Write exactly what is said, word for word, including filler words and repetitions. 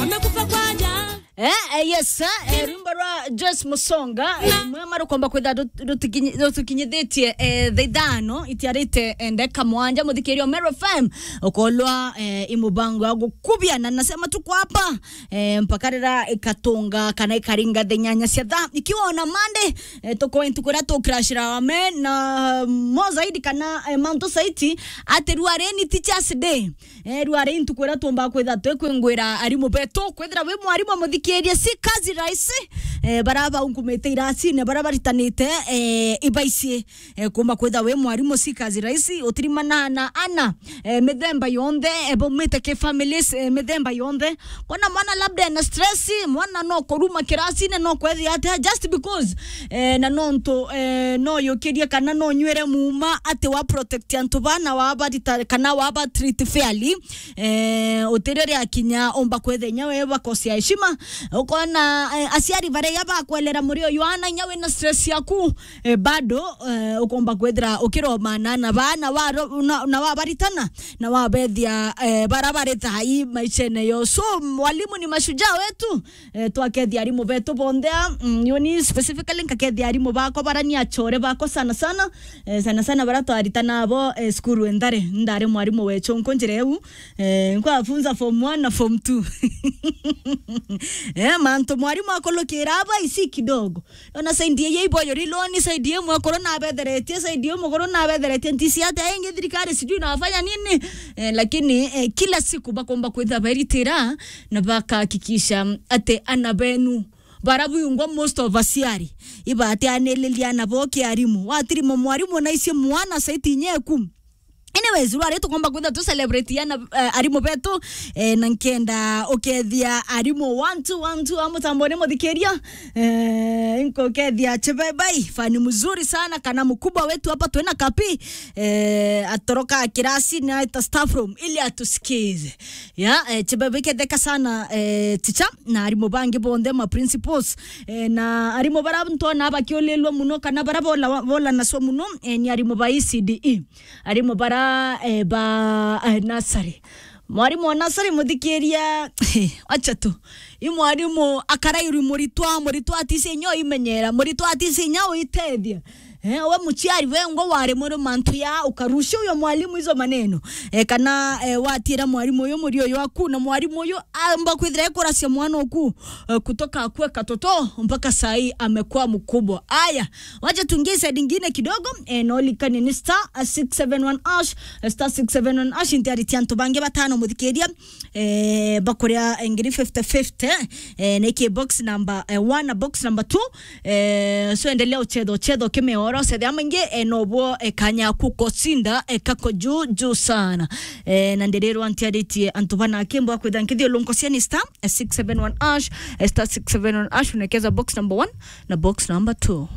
Nimekufa kwa ajali. Eh, eh, yes, eh, eh, rwimbo rwa Joyce Musonga, eh, mwema rukomba kwitha rut-, rutikinyi-, rutukinyithitie, eh, thaa ithano, itiarite, eh, ndeka mwanja, muthikiria wa Meru F M, ukolwa, eh, i mubango ya gukubia, na nasema tuko hapa, eh, mpaka rira ikatunga kana ikaringa thaa inyanya cia thaa. Ikiwa ona Monday, eh, tuko ntuku iria tukrashira wame na mo zaidi kana, eh, mantu saiti, ati ruareni Teachers Day. Eh, ruari ntuku iria tuumba kwitha twi kwingwira arimu betu. Kwithira wi mwarimu muthikirie, si kazi rahisi. Eh, bara baunkumite iracine, bara baritanite, eh, ibaici. Eh, kuumba kwitha wi mwarimu, si kazi rahisi. Utirimana na ana, eh, mithemba yonthe, eh, baumite ki families, eh, mithemba yonthe. Kona mwana labda ena stress, mwana no kuruma kiracine, no kwethia atia, just because, eh, na nontu, eh, no yukirie kana no nywire muuma ati wa protect antu bana wa barita kana wa ba treat fairly. Eh, utirio ria kinya umba kwetha inya we bakosia heshima. Ukona, eh, aciari baria bakwelera muri uyu ana inya wina stress yaku, eh, bado, eh, ukomba kwethira ukiromana na bana wa ro-, na, na wabaritana, na wabethia, eh, bara bari thai maishene yo. So, walimu ni mashujaa wetu, eh, twakethia arimu betu bonthe, mm, yoni specifically nkakethia arimu bakwa bara ni achore bakwa sana sana, eh, sana sana bara twaritana abo, eh, cukuru endare, ndari mwarimu wecho nko njira eu, eh, nkwafunza form one na form two. Eh, mantu mwarimu akolokira aba isi kidogo. Ona saidi ye iboyo riloni, saidi ye mwekuru nabetheretie, saidi ye muguru nabetheretie, ntisi ati aingi thirikari sijui inafanya nini. Eh, lakini, eh, kila siku bakomba kwitha beritira na bakahakikisha ati ana benu bara bwingwa most of aciari ibatianiriria ana bo kiarimu. Watirimo mwarimu na icio mwana saiti nyeku. Anyways, rwari tukomba kwitha tu celebrate ana, eh, arimu betu, eh, na nkenda ukethia arimu one two one two amutambone muthikiria. Eh, nkukethia Chibebai, fani mzuri sana, kana mkubwa wetu hapa twina kapi, eh, atoroka kirasi na eta staff room ili atusikize. Ya, eh, Chibebai ketheka sana, eh, teacher, na arimu bangi bonthe ma principals, eh, na arimu bara ntona bakiulilwa muno kana bara bola, bola naso muno, eh, ni arimu ba E C D E. Arimu bara, eh, ba, eh, nursery. Mwarimu wa nursery muthikiria, acha tu. I mwarimu akarairwi muritwa, muritwa atisi inya uimenyera, muritwa atisi inya uitethia. Eh, we muciari we ngo wari muri mantu ya ukarucia uyo mwalimu izo maneno. Eh, kana, eh, watira mwalimu uyo murio waku na mwalimu uyo amba kwithira ekuracia mwana oku, eh, kutoka akue katoto mpaka sai amekuwa mkubwa. Aya, wacha tuingie side ingine kidogo, eh, no likane ni star six seven one hash, eh, star six seven one hash, ntiari tia antu bangi batano muthikiria, eh, bakuria ngiri fifty fifty, eh, niki box number, eh, one na box number two, eh, so endelea uchetha, uchetha ukimeora, uchethe amaingi, eh, nobo, eh, kanya kukosinda, eh, kako juu, juu sana. Eh, na ndiriro ntiaritie antu bana kimbo kwitha nkithio lunko cia ni star, eh, six seven one hash, eh, star six seven one hash, unekeza box number one na box number two.